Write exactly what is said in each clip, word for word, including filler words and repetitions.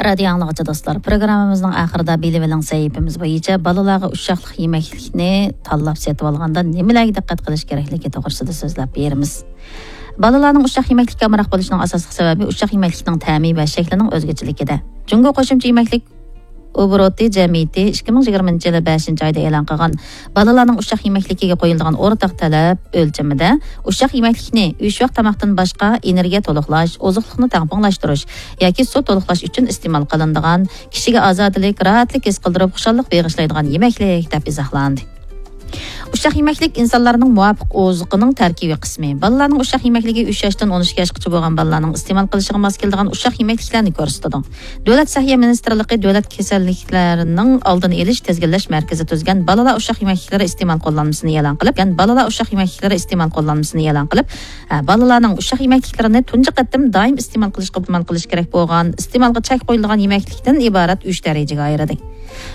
رادىيو ئاڭلىغۇچى دوستلار، پروگراممىمىزنىڭ ئاخىرىدا بىلىۋېلىڭ سەھىپىمىز بويىچە بالىلارغا ئۇششاقلىق يېمەكلىكنى تاللاپ سېتىۋالغاندا نېمىلەرگە دىققەت قىلىش كېرەكلىكى توغرىسىدا سۆزلەپ بېرىمىز. بالىلارنىڭ ئۇششاق يېمەكلىككە ئامراق بولۇشىنىڭ ئاساسلىق سەۋەبى ئۇششاق يېمەكلىكنىڭ تەمى ۋە شەكلىنىڭ ئۆزگىچىلىكىدە. جۇڭگو قوشۇمچە يېمەكلىك ئوبوروتى جەمئىيىتى ئىككى مىڭ يىگىرمىنچى يىلى بەشىنچى ئايدا ئېلان قىلغان بالىلارنىڭ ئۇششاق يېمەكلىكىگە قويۇلىدىغان ئورتاق تەلەپ ئۆلچىمىدە ئۇششاق يېمەكلىكنى ئۈچ ۋاق تاماقتىن باشقا ئېنېرگىيە تولۇقلاش، ئوزۇقلۇقنى تەڭپۇڭلاشتۇرۇش ياكى سۇ تولۇقلاش ئۈچۈن ئىستېمال قىلىنىدىغان، كىشىگە ئازادىلىك، راھەتلىك ھېس قىلدۇرۇپ، خۇشاللىق بېغىشلايدىغان يېمەكلىك دەپ ئىزاھلاندى. ئۇششاق يېمەكلىك ئىنسانلارنىڭ مۇۋاپىق ئوزۇقىنىڭ تەركىبىي قىسمى. بالىلارنىڭ ئۇششاق يېمەكلىكى ئۈچ ياشتىن ئون ئىككى ياشقىچە بولغان بالىلارنىڭ ئىستېمال قىلىشىغا ماس كېلىدىغان ئۇششاق يېمەكلىكلەرنى كۆرسىتىدۇ. دۆلەت سەھىيە مىنىستىرلىقى دۆلەت كېسەللىكلەرنىڭ ئالدىنى ئېلىش، تىزگىنلەش مەركىزى تۈزگەن بالىلار ئۇششاق يېمەكلىكلىرى ئىستېمال قوللانمىسىنى ئېلان قىلىپ، بالىلار ئۇششاق يېمەكلىكلىرى ئىستېمال قوللانمىسىنى ئېلان قىلىپ، ھە، بالىلارنىڭ ئۇششاق يېمەكلىكلىرىنى تۇنجى قېتىم دائىم ئىستېمال قىلىشقا ئىستېمال قىلىش كېرەك بولغان، ئىستېمالغا چەك قويۇلىدىغان يېمەكلىكتىن ئىبارەت ئۈچ دەرىجىگە ئايرىدى.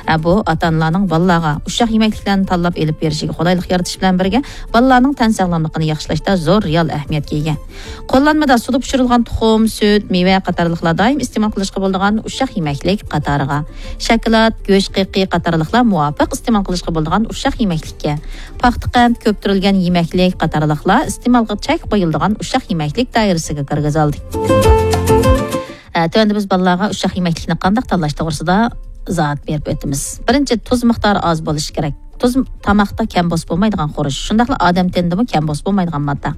ھە، بۇ ئاتا-ئانىلارنىڭ بالىلارغا ئۇششاق يېمەكلىكلەرنى تاللاپ ئېلىپ بېرىشىگە قولايلىق يارىتىش بىلەن بىرگە، بالىلارنىڭ تەن ساغلاملىقىنى ياخشىلاشتا زور رېئال ئەھمىيەتكە ئىگە. قوللانمىدا سۇدا پىشۇرۇلغان تۇخۇم، سۈت، مېۋە قاتارلىقلار دائىم ئىستېمال قىلىشقا بولىدىغان ئۇششاق يېمەكلىك قاتارىغا، شاكىلات، گۆش قېقى قاتارلىقلار مۇۋاپىق ئىستېمال قىلىشقا بولىدىغان ئۇششاق يېمەكلىككە، پاختا قەنت، كۆپتۈرۈلگەن يېمەكلىك قاتارلىقلار ئىستېمالغا چەك قويۇلىدىغان ئۇششاق يېمەكلىك دائىرىسىگە كىرگۈزۈلدى. ئە، تۆۋەندە بىز بالىلارغا ئۇششاق يېمەكلىكنى قانداق تاللاش توغرىسىدا ئىزاھات بېرىپ ئۆتىمىز. بىرىنچى، تۇز مىقدارى ئاز بولۇشى كېرەك. تۇز تاماقتا كەم بولسا بولمايدىغان خۇرۇچ، شۇنداقلا ئادەم تېنىدىمۇ كەم بولسا بولمايدىغان ماددا.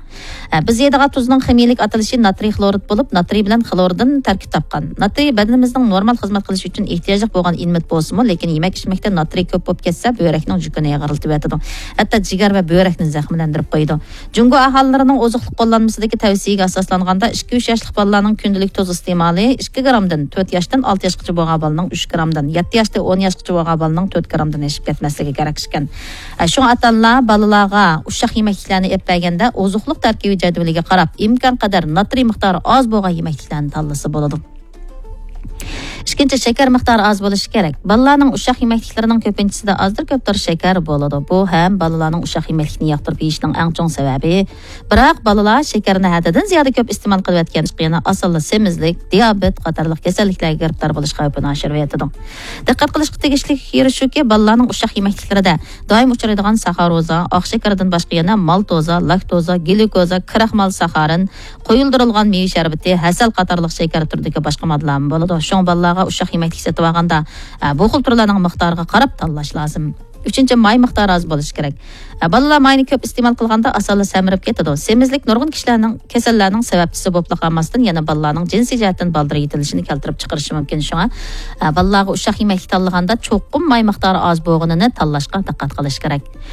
ئە، بىز يەيدىغان تۇزنىڭ خىمىيىلىك ئاتىلىشى ناترىي خلورىد بولۇپ، ناترىي بىلەن خلوردىن تەركىب تاپقان. ناترىي بەدىنىمىزنىڭ نورمال خىزمەت قىلىش ئۈچۈن ئېھتىياجلىق بولغان ئىلمېنىت بولسىمۇ، لېكىن يېمەك ئىچمەكتە ناترىي كۆپ بولۇپ كەتسە، بۆرەكنىڭ يۈكىنى ئېغىرلىتىۋېتىدۇ. ھەتتا جىگەر ۋە بۆرەكنى زەخىملەندۈرۈپ قويىدۇ. جۇڭگو ئاھالىلىرىنىڭ ئوزۇقلۇق قوللانمىسىدىكى تەۋسىيەگە ئاساسلانغاندا، ئىككى ئۈچ ياشلىق بالىلارنىڭ كۈندىلىك تۇز ئىستېمالى ئىككى گرامدىن، تۆت ياشتىن ئالتە ياشقىچە بولغان بالىنىڭ ئۈچ گرامدىن، يەتتە ياشتىن ئون ياشقىچە بولغان بالىنىڭ تۆت گرامدىن ئېشىپ كەتمەسلىكى كېرەك ئىكەن. ئە، شۇڭا ئاتا-ئانىلار بالىلارغا ئۇششاق يېمەكلىكلەرنى ئېلىپ بەرگەندە، ئوزۇقلۇق تەركىبى جەدۋىلىگە قاراپ، ئىمكانقەدەر ناترىي مىقدارى ئاز بولغان يېمەكلىكلەرنى تاللىسا بولىدۇ. ئىككىنچى، شېكەر مىقدارى ئاز بولۇشى كېرەك. بالىلارنىڭ ئۇششاق يېمەكلىكلىرىنىڭ كۆپىنچىسىدە ئازدۇر كۆپتۇر شېكەر بولىدۇ. بۇ ھەم بالىلارنىڭ ئۇششاق يېمەكلىكنى ياقتۇرۇپ يېيىشىنىڭ ئەڭ چوڭ سەۋەبى. بىراق بالىلار شېكەرنى ھەددىدىن زىيادە كۆپ ئىستېمال قىلىۋەتكەن، يەنە ئاسانلا سېمىزلىك، دىيابېت قاتارلىق كېسەللىكلەرگە گىرىپتار بولۇش خەۋپىنى ئاشۇرۇۋېتىدۇ. دىققەت قىلىشقا تېگىشلىك يېرى شۇكى، بالىلارنىڭ ئۇششاق يېمەكلىكلىرىدە دائىم ئۇچرايدىغان ساخاروزا، ئاق شېكەردىن باشقا يەنە مالتوزا، لاكتوزا، گليۇكوزا، كراخمال ساخارىن، قويۇلدۇرۇلغان مېۋە شەربىتى، ھەسەل قاتارلىق شېكەر تۈرىدىكى باشقا ماددىلارمۇ بولىدۇ. شۇڭا بالىلارغا ئۇششاق يېمەكلىك سېتىۋالغاندا، ئە، بۇ خىل تۈرلەرنىڭ مىقدارىغا قاراپ تاللاش لازىم. ئۈچىنچى، ماي مىقدارى ئاز بولۇشى كېرەك. ئە، بالىلار ماينى كۆپ ئىستېمال قىلغاندا ئاسانلا سەمرىپ كېتىدۇ. سېمىزلىك نۇرغۇن كىشىلەرنىڭ كېسەللەرنىڭ سەۋەبچىسى بولۇپلا قالماستىن، يەنە بالىلارنىڭ جىنسىي جەھەتتىن بالدۇر يېتىلىشىنى كەلتۈرۈپ چىقىرىشى مۇمكىن. شۇڭا، ئە، بالىلارغا ئۇششاق يېمەكلىك تاللىغاندا چوقۇم ماي مىقدارى ئاز بولغىنىنى تاللاشقا دىققەت قىلىش كېرەك.